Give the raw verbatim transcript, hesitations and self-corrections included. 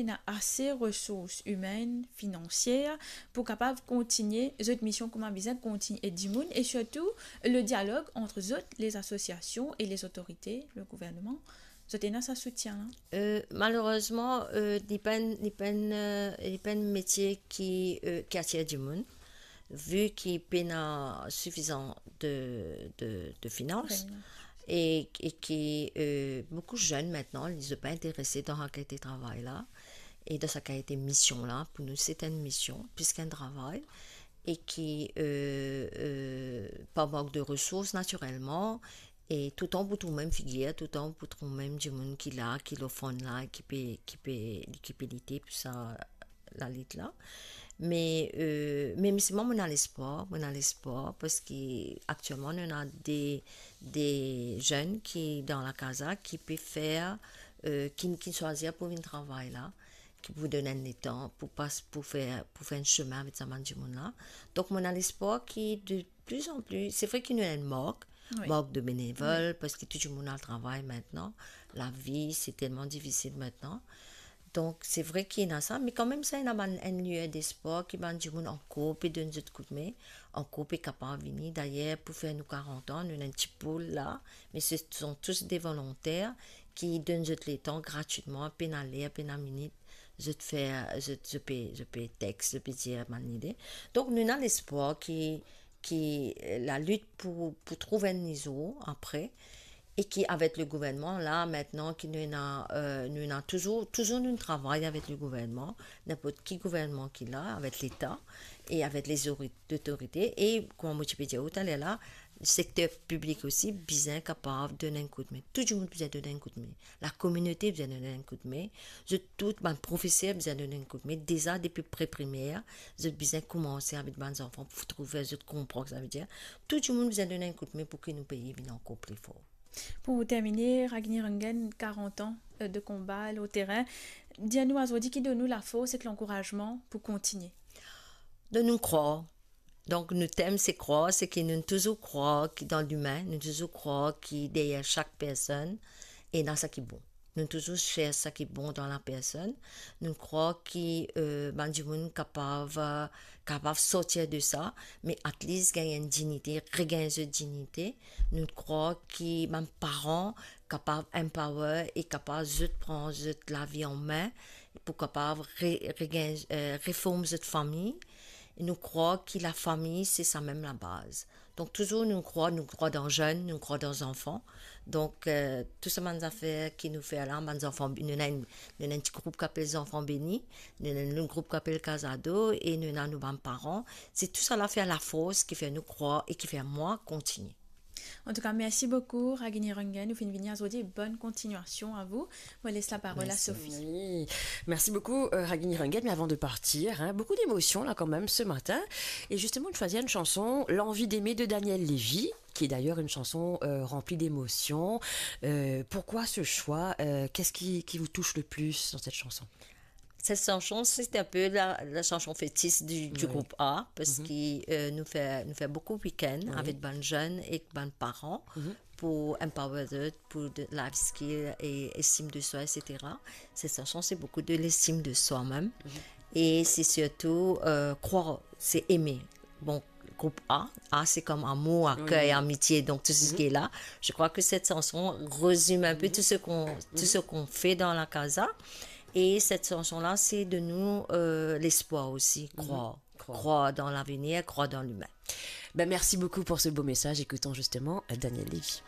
ena ase resours imenn, finansier pou kapav kontigne zot mision kouma bizin kontigne ed dimoun, e sirtou le dialog ant zot, les associations et les autorités, le gouvernement, zot ena sa soutien la? Euh, malerezman, euh, li pa enn, li pa enn, euh, li pa enn metie ki, euh, ki atir dimoun, vi ki pena sifizan de, de, de finans, e, e ki, euh, boukou zenn aster, li pa interese dan sa kalite travay la, e dan sa kalite mision la. Pou nou, se enn mision, plis ki enn travay, e ki, euh, euh, par mank de resours, natirelman, e toutan pou trouv mem figir, toutan pou trouv mem dimoun ki la, ki lor fron la, ki pe, ki pe, ki pe lite pou sa, lalit la. Me, euh, me, me selman mo ena lespwar, mo ena lespwar, parski aktielman nou ena de, de zenn ki dan la CASA ki pe fer, euh, ki, ki swazir pou vinn travay la, ki pou donn enn letan, pou pas, pou fer, pou fer enn semin avek sa bann dimoun la. Donk mo ena lespwar ki de plis an plis, se vre ki nou ena enn mank, wi, mank de benevol, wi, parski tou dimoun al travay aster, lavi se telman difisil aster. Donk se vre ki ena sa, me kanmem sa ena bann, enn lier despwar ki bann dimoun ankor pe donn zot koudme, ankor pe kapav vini. Dayer, pou fer nou karant an, nou ena enn ti poul la, me se sont tous des volontaires ki donn zot letan gratwitman, pena ler, pena minit, zot fer, zot, zot pe, zot pe text, zot pe dir bann lide. Donk nou ena lespwar ki, ki, euh, lalit pou, pou trouv enn nizo apre, e ki avek le gouvernman la aster, ki nou ena, euh, nou ena touzour, touzour nou travay avek le gouvernman, ninport ki gouvernman ki la, avek Leta e avek lezori-, lotorite. E kouma mo ti pe dir ou taler la, sekter piblik osi bizin kapav donn enn koudme. Tou dimoun bizin donn enn koudme. Lakominote bizin donn enn koudme. Zot tou, bann profeser bizin donn enn koudme. Deza depi pre primer, zot bizin koumans avek bann zanfan pou trouv zot konpran ki savedir. Tou dimoun bizin donn enn koudme pou ki nou pei vinn ankor pli for. Pou termine, Ragini Rangen, karant an, euh, de konba lor terin, dir nou azordi ki donn nou lafors ek lankourazman pou kontigne. Donn nou krwar. Donk nou tem se krwar, se ki nou touzour krwar ki dan limin, nou touzour krwar ki deryer sak personn ena sa ki bon. Nou touzour chersh sa ki bon dan la personn. Nou krwar ki, euh, bann dimoun kapav, euh, kapav sorti de sa, me at least gagn enn dignite, regagn zot dignite. Nou krwar ki bann paran kapav empower e kapav zot pran zot lavi an me pou kapav re-, regagn, euh, reform zot fami. E nou krwar ki lafami se sa mem labaz. Donk touzour nou krwar, nou krwar dan zenn, nou krwar dan zanfan. Donk, euh, tou sa bann zafer ki nou fer la, bann zanfan, nou ena enn, nou ena enn ti group ki apel Zanfan Beni, nou ena enn lot group ki apel Kaz Ado, e nou ena nou bann paran. Se tou sa la fer lafors ki fer nou krwar e ki fer mwa kontigne. Antouka, mersi boukou, Ragini Rangen, ou finn vini azordi, bonne continuation à vous. Mo les laparol a Sophie. Merci. Oui. Merci beaucoup, euh, Ragini Rangen. Mais avant de partir, hein, beaucoup d'émotions là quand même ce matin. Et justement, tu choisis une chanson, L'envie d'aimer de Daniel Lévy, qui est d'ailleurs une chanson, euh, remplie d'émotions. Euh, pourquoi ce choix ? Euh, qu'est-ce qui, qui vous touche le plus dans cette chanson ? Cette chanson, c'est un peu la, la chanson fétiche du, du groupe A, parce que, euh, nous fait, nous fait beaucoup week-end avec bann zenn ek bann paran pour empower eux, pour de life skill et estime de soi, et cetera. Cette chanson, c'est beaucoup de l'estime de soi-même. Et c'est surtout, euh, croire, c'est aimer. Bon, groupe A, A, c'est comme amour, accueil, amitié, donc tout ce qui est là. Je crois que cette chanson résume un peu tout ce qu'on, tout ce qu'on fait dans la casa. Et cette chanson-là, c'est de nous, euh, l'espoir aussi, croire. Croire. Croire dans l'avenir, croire dans l'humain. Ben, merci beaucoup pour ce beau message. Écoutons justement, euh, Daniel Lévy.